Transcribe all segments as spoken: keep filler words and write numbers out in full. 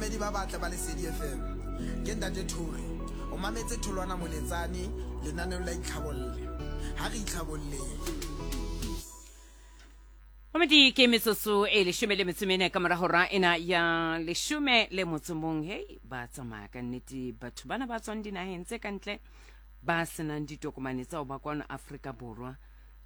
Bamamedi ba batle ba Lesedi F M. Ke Ntate Thuri. O mametse Tholwana Moletsane lenaneong la Itlhabolle. Ha re itlhabolleng. Mamedi ke metsotso e leshome le metso e mene ka mora hora ena ya leshome le motso mong. Hei, ba tsamaya ka nnete batho bana ba tswang dinaheng tse ka ntle ba senang ditokomane tsa ho ba kwano Afrika Borwa.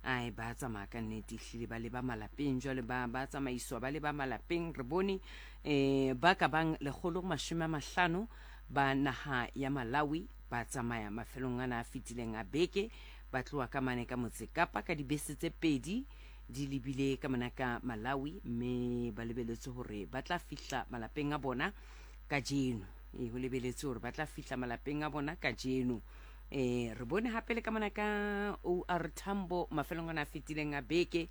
Ai, ba tsamaya ka nnete ehlile ba leba malapeng jwale, ba ba tsamaiswa ba leba malapeng. Re bone eh ba ka bang lekgolo mashome a mahlano ba naha ya Malawi ba tsamaya mafelong ana a fetileng a beke, ba tloha ka mane ka Motse Kapa ka dibese tse pedi di lebile ka mona ka Malawi, mme ba lebeletse hore ba tla fihla malapeng a bona kajeno. E ho lebeletse hore ba tla fihla malapeng a bona kajeno. Eh re bone hape le ka mona ka O R Tambo mafelong ana a fetileng a beke,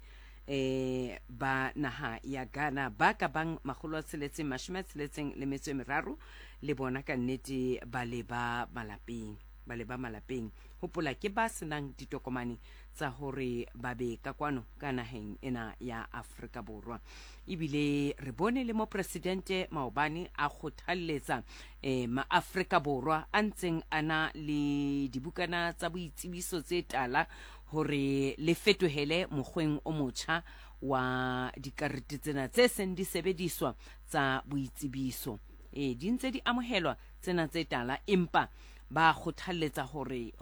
eh ba naha ya Ghana ba ka bang makgolo a tsheletseng mashome a tsheletseng le metso e meraro le bona ka nnete ba leba malapeng, ba leba malapeng. Hopola ke ba senang ditokomane tsa hore ba be ka kwano ka naheng ena ya Afrika Borwa. Ebile re bone le mopresidente maobane a kgothalletsa eh maAfrika Borwa a ntseng a na le dibukana tsa boitsebiso tse tala hore le fetohele mokgweng o motjha wa dikarete tsena tse seng di sebediswa tsa boitsebiso. E di ntse di amohelwa tsena tse tala, empa ba kgothalletsa hore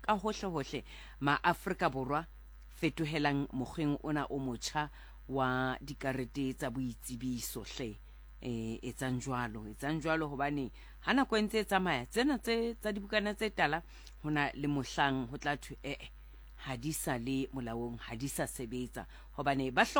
ka hohle hohle maAfrika Borwa fetohelang mokgweng ona o motjha wa dikarete tsa boitsebiso hle. E etsang jwalo, etsang jwalo hobane ha nako e ntse e tsamaya tsena tse tsa dibukana tse tala hona le mohlang ho tla thwe eh ha di sa le molaong, ha di sa sebetsa hobane ba hloka